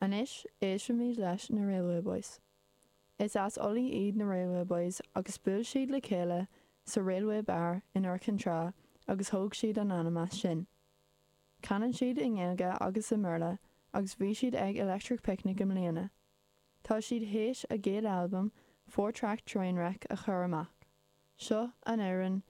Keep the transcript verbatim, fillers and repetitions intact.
Anois éistfimid leis na Railway Boys. Is as Ulaidh iad na Railway Boys agus bhuail siad le chéile sa Railway Bar in Iúr Cinn Trá agus thóg siad an ainm as sin. Canann siad i nGaeilge agus i mBéarla agus bhí siad ag Electric Picnic i mbliana. Tá siad théis a gcéad albam Four Track Trainwreck a chur amach. Seo an amhrán